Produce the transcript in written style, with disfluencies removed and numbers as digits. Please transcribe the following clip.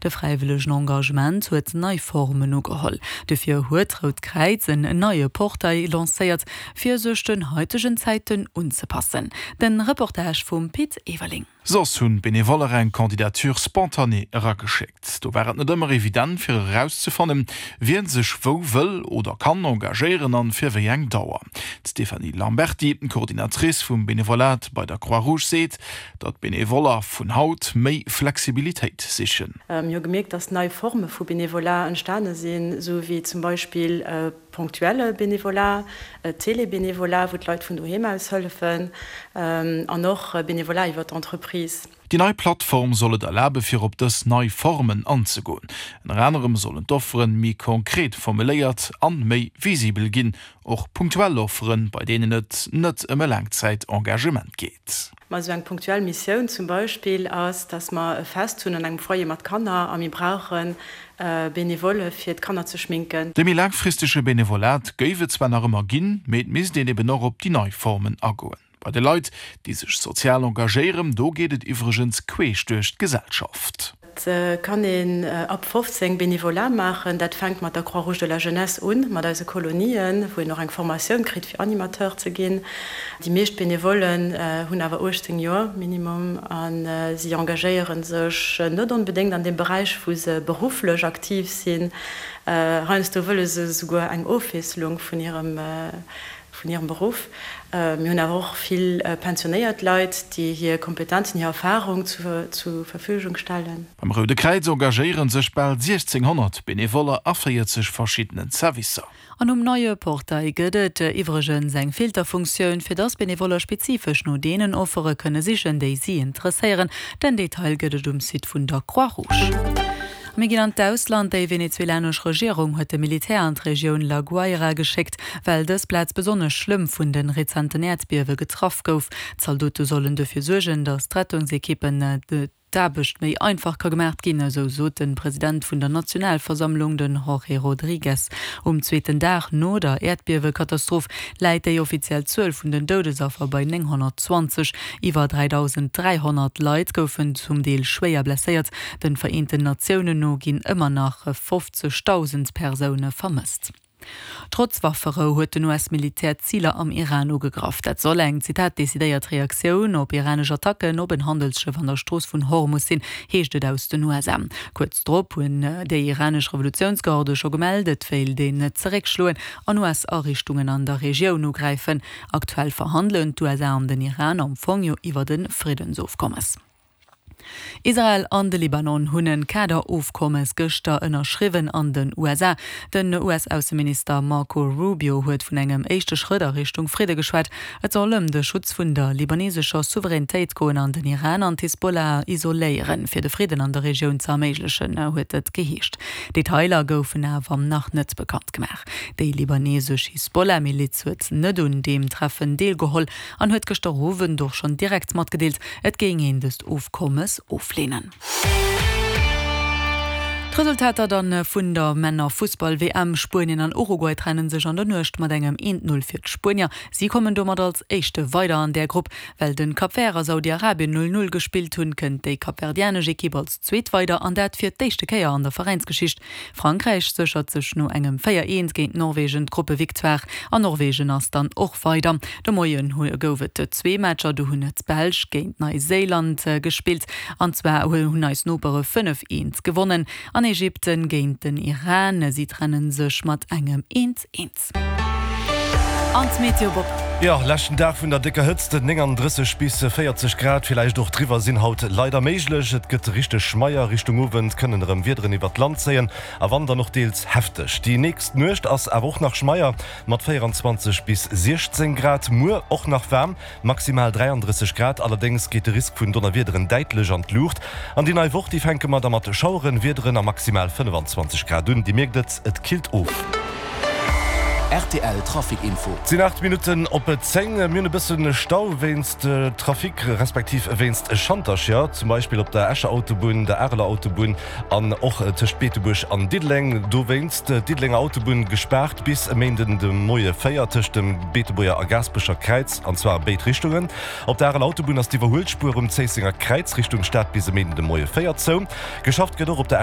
De fräiwëllegen Engagement huet nei Formen ugeholl. Dofir huet d'Rout Kräiz en neie Portail lancéiert, fir sech den haitegen Zäiten unzepassen. Den Reportage vum Pit Everling. Soss hunn d'Benevoller eng Candidature spontanée erageschéckt. Do war et net ëmmer evident fir erauszefannen, wien sech wou wëll oder kann engagéieren an fir wéi eng Dauer. D'Stéphanie Lamberty, Coordinatrice vum Benevolat bei der Croix-Rouge seet, datt d'Benevoller vun haut méi Flexibilitéit sichen. Mir hu gemierkt, datt nei Forme vu Benevolat entstane sinn, esou wéi zum Beispill ponctuelle Bénévolat, Télé-Bénévolat, wou d'Leit vun doheem aus hëllefen, an och Bénévolat iwwer d'Entreprise. Déi nei Plattform soll et erlabe fir op dës nei Formen anzegoen. Ënner anerem sollen d'Offeren méi konkret formuléiert an méi visibel ginn, och punktuell Offeren, bei deenen et net ëm e Laangzäit-Engagement geet. Ma esou eng punktuell Missioun zum Beispill ass, dass mer e Fest hunn an engem Foyer mat Kanner a mir brauche Benevole fir d'Kanner ze schminken. De méi laangfristege Benevolat géif et zwar nach ëmmer ginn, mee et misst een eben och op déi nei Formen agoen. Bei de Leit, déi sech sozial engagéieren, do geet et iwwregens queesch duerch d'Gesellschaft. Et kann een ab 15 Bénévolat maachen. Dat fänkt mat der Croix-Rouge de la Jeunesse un, mat eise Kolonien, wou een och eng Formatioun kritt fir Animateur ze ginn. Déi meescht Benevollen hunn awer 18 Joer minimum a si engagéiere sech net onbedéngt an deem Beräich, wou se berufflech aktiv sinn. Heiansdo wëlle se esouguer eng Ofwiesselung vun hirem vun hirem Beruff. Mir hunn awer och vill pensionéiert Leit, déi hir Kompetenzen, hir Erfahrung zur Verfügung stellen. Beim Roude Kräiz engagéiere sech bal 1.600 Benevoller a 40 verschiddenen Servicer. An um neie Portail gëtt et iwwregens eng Filterfunktioun, fir dass Benevoller spezifesch no deenen Offere kënne sichen, déi si interesséieren. Den Detail gëtt et um Site vun der Croix-Rouge. A mir ginn an d'Ausland, Déi venezuelanesch Regierung huet de Militär an d'Regioun La Guaira geschéckt, well dës Plaz besonnesch schlëmm vun de rezenten Äerdbiewe getraff gouf. D'Zaldote sollen dofir suergen, datt d'Rettungsekippen d'Aarbecht méi einfach ka gemaacht ginn, esou sot de President vun der Nationalversammlung, den Jorge Rodriguez. Um zweeten Dag no der Äerdbiewekatastroph läit déi offiziell Zuel vun den Doudesaffer bei 920. Iwwer 3.300 Leit goufen zum Deel schwéier blesséiert. Den Vereenten Natiounen no ginn ëmmer nach 50.000 Persoune vermësst. Trotz Wafferou huet den US-Militär Ziler am Iran ugegraff. Dat soll eng, Zitat, decidéiert Reaktioun op iranesch Attacken op en Handelsschëff an der Strooss vun Hormus sinn, heescht et aus den USA. Kuerz drop hunn déi iranesch Revolutiounsgarde scho gemellt, et wéilt een zeréckschloen an US-Ariichtungen an der Regioun ugräifen. Aktuell verhandelen d'USA an den Iran am Fong jo iwwert e Friddensofkommes. Israel an de Libanon hunn e Kaderofkommes gëschter ënnerschriwwen an den USA. Den US-Ausseminister Marco Rubio huet vun engem éischte Schrëtt a Richtung Fridde geschwat. Et soll ëm de Schutz vun der libanesescher Souveränitéit goen an den Iran an d'Hisbollah isoléieren, fir de Fridden an der Regioun ze erméiglechen, huet et geheescht. Detailer goufen awer nach net bekannt gemaach. Déi libanesesch Hisbollah-Miliz huet net un deem Treffen deelgeholl an huet gëschter Owend och schonn direkt matgedeelt, et géing een dëst Ofkommes ofleenen. D'Resultater dann vun der Männer-Fussball-WM, Spuenien an Uruguay trennen sech an der Nuecht mat engem 1, 0 fir d'Spuenier. Si kommen domat als éischte weider an där Grupp. Well den Cap Vert a Saudi-Arabien 0, 0 gespillt hunn, kënnt déi kapverdianesch Ekipp als zweet weider an dat fir d'éischte Kéier an der Veräinsgeschicht. Frankräich séchert sech no engem 4, 1 géint Norwegen d'Gruppevictoire an Norwegen ass dann och weider. De Moien gouf et zwee Matcher, do hunn d'Belsch géint Neiséiland gespillt an zwar hunn eis Nopere 5, 1 gewonnen an Ägypten géint den Iran. Si trenne sech mat engem 1, 1. An d'Meteo Bob. Jo, leschten Dag vun der décker Hëtzt, 39 bis 40 Grad, villäicht och driwwer, sinn haut leider méiglech. Et gëtt richteg schmeier, Richtung Owend kënnen erëm Wiederen iwwert d'Land zéien a wann dann och deels hefteg. Déi nächst Nuecht ass awer och nach schmeier mat 24 bis 16 Grad. Muer och nach waarm, Maximal 33 Grad, allerdéngs geet de Risk vun Donnerwiederen däitlech an d'Luucht. An déi nei Woch, déi fänke mer da mat Schaueren, Wiederen a maximal 25 Grad un. Dir mierkt et, et killt of. Rtl Trafic Info. Et sinn 8 Minutten op 10. Mir hunn e bësse Stau wéinst Trafic, respektiv wéinst Schantercher, zum Beispill op der Escher Autobunn, der Areler Autobunn an och tëscht Beetebuerg an Diddeleng. Dowéinst d'Diddelenger Autobunn gespaart bis e Méinden de Moie 4 tëscht dem Beetebuerger a Gaasperecher Kräiz, an zwar a béid Richtungen. Op der Areler Autobunn ass d'Iwwerhuelspuer um Zéissenger Kräiz Richtung Stad bis e Méinden de Moie 4 zou. Geschafft gëtt och op der.